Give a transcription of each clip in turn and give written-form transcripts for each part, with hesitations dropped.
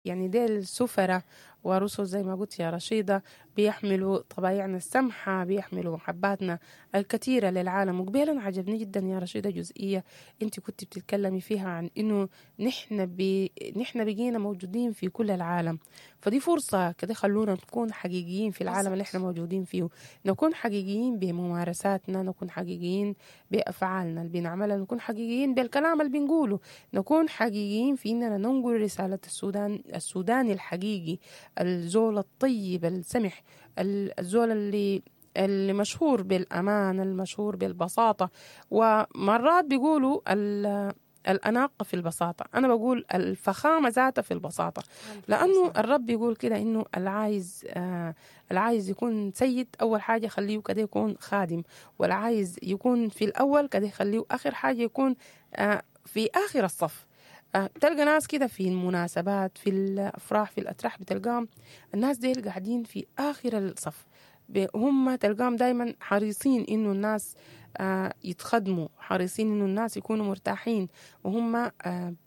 يعني ديل سفراء ورسل زي ما قلت يا رشيدة، بيحملوا طبايعنا السمحة، بيحملوا محباتنا الكثيرة للعالم. وقبيلا عجبني جدا يا رشيدة جزئية انت كنت بتتكلمي فيها عن انه نحن بقينا موجودين في كل العالم، فدي فرصة كده خلونا نكون حقيقيين في العالم اللي احنا موجودين فيه، نكون حقيقيين بممارساتنا، نكون حقيقيين بأفعالنا اللي بنعملها، نكون حقيقيين بالكلام اللي بنقوله، نكون حقيقيين في اننا ننقل رسالة السودان، السوداني الحقيقي، الزول الطيب السمح، الزول اللي مشهور بالأمان، المشهور بالبساطة. ومرات بيقولوا الأناقة في البساطة، أنا بقول الفخامة ذاتها في البساطة، لأنه الرب بيقول كده إنه العايز يكون سيد أول حاجة خليه كده يكون خادم، والعايز يكون في الأول كده خليه آخر حاجة يكون في آخر الصف. بتلقى ناس كده في المناسبات، في الأفراح، في الأتراح، بتلقاهم الناس ديل قاعدين في آخر الصف، هم تلقاهم دايما حريصين إنه الناس يتخدموا، حريصين إنه الناس يكونوا مرتاحين، وهم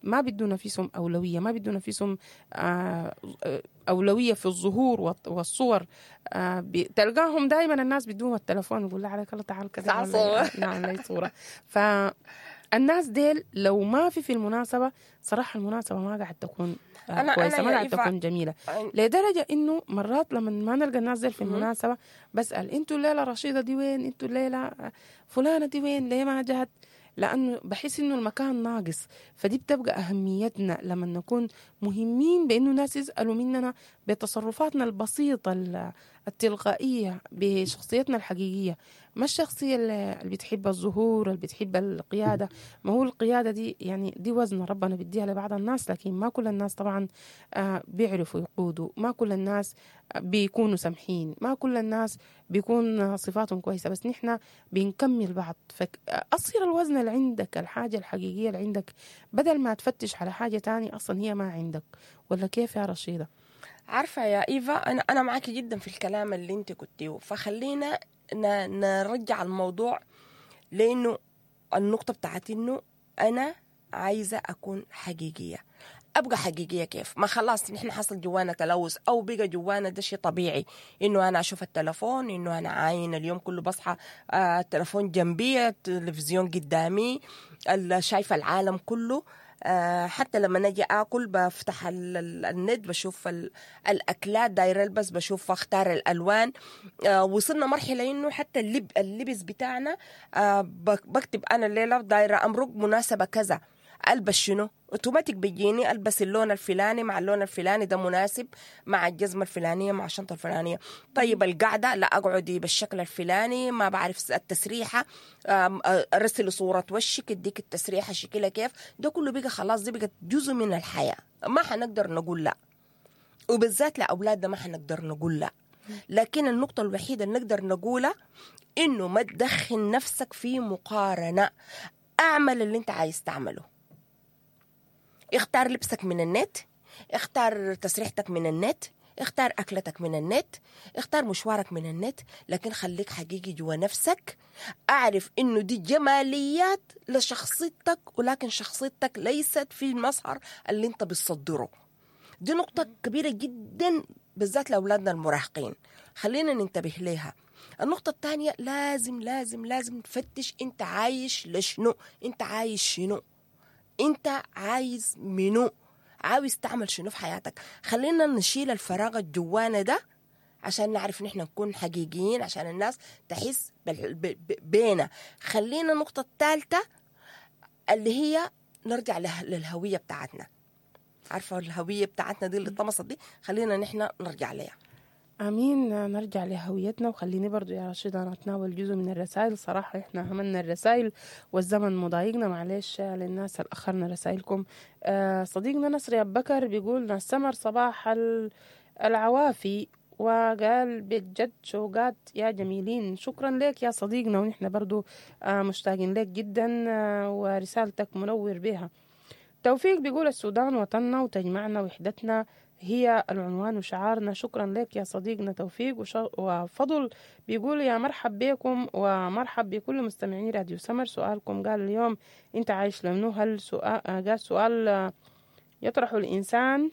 ما بدوا نفسهم أولوية، ما بدوا نفسهم أولوية في الظهور والصور. تلقاهم دايما الناس بدون التلفون يقول عليك الله تعال كذا نعم لي صورة. فالناس ديل لو ما في المناسبة صراحة المناسبة ما قاعد تكون كويسة، ما قاعد تكون جميلة، لدرجة إنه مرات لما ما نلقى الناس ديل في المناسبة بسأل انتوا الليلة رشيدة دي وين، انتوا الليلة فلانة دي وين، ليه ما جات؟ لأنه بحس إنه المكان ناقص. فدي بتبقى أهميتنا لما نكون مهمين بإنه الناس يسألوا مننا بتصرفاتنا البسيطة التلقائية، بشخصيتنا الحقيقية، ما الشخصية اللي بتحب الظهور، اللي بتحب القيادة. ما هو القيادة دي يعني دي وزن ربنا بيديها لبعض الناس، لكن ما كل الناس طبعا بيعرفوا يقودوا، ما كل الناس بيكونوا سمحين، ما كل الناس بيكون صفاتهم كويسة، بس نحن بنكمل بعض. فأصير الوزن اللي عندك، الحاجة الحقيقية اللي عندك، بدل ما تفتش على حاجة تاني أصلا هي ما عندك. ولا كيف يا رشيدة؟ عارفة يا إيفا، أنا معاكي جدا في الكلام اللي انت قلتيه، فخلينا نرجع الموضوع، لأنه النقطة بتاعت إنه أنا عايزة أكون حقيقية. أبقى حقيقية كيف؟ ما خلاص نحن حصل جوانا تلوث أو بقى جوانا ده شيء طبيعي، إنه أنا أشوف التلفون، إنه أنا عاين اليوم كله بصحى التلفون جنبي، التلفزيون قدامي، شايفة العالم كله. حتى لما نجي آكل بفتح النت بشوف الأكلات، داير ألبس بشوف أختار الألوان. وصلنا مرحلة إنه حتى اللبس بتاعنا بكتب أنا الليلة دايرة أمرق مناسبة كذا، ألبس شنو؟ اوتوماتيك بيجيني ألبس اللون الفلاني مع اللون الفلاني، ده مناسب مع الجزمة الفلانية مع الشنطة الفلانية. طيب القعدة لا أقعدي بالشكل الفلاني، ما بعرف التسريحة، أرسل صورة وشك اديك التسريحة شكلها كيف. ده كله بقى خلاص، دي بقت جزء من الحياة، ما حنقدر نقول لا، وبالذات لأولادنا ما حنقدر نقول لا. لكن النقطة الوحيدة اللي نقدر نقولها إنه ما تدخل نفسك في مقارنة، أعمل اللي أنت عايز تعمله، اختار لبسك من النت، اختار تسريحتك من النت، اختار أكلتك من النت، اختار مشوارك من النت، لكن خليك حقيقي جوا نفسك. أعرف إنه دي جماليات لشخصيتك، ولكن شخصيتك ليست في المظهر اللي انت بتصدره. دي نقطة كبيرة جدا بالذات لأولادنا المراهقين، خلينا ننتبه لها. النقطة الثانية، لازم لازم لازم تفتش انت عايش لشنو، انت عايش شنو، انت عايز منو، عاوز تعمل شنو في حياتك. خلينا نشيل الفراغ الجوانا ده عشان نعرف نحن نكون حقيقيين، عشان الناس تحس بينا. خلينا النقطة الثالثة اللي هي نرجع للهوية بتاعتنا. عارفة الهوية بتاعتنا دي اللي طمست دي، خلينا نحن نرجع لها. امين، نرجع لهويتنا. وخليني برضو يا رشيد انا اتناول جزء من الرسائل. صراحة احنا عملنا الرسائل والزمن مضايقنا، معلش للناس اللي اخرنا رسائلكم. صديقنا نصري ابو بكر بيقول ناس سمر صباح العوافي، وقال بجد شوقات يا جميلين. شكرا لك يا صديقنا، ونحن برضو مشتاقين لك جدا، ورسالتك منور بها. توفيق بيقول السودان وطننا وتجمعنا وحدتنا هي العنوان وشعارنا. شكرا لك يا صديقنا توفيق. وفضل بيقول يا مرحب بكم ومرحب بكل مستمعين راديو سمر. سؤالكم قال اليوم انت عايش لمنو؟ هل سؤال قال سؤال يطرح الإنسان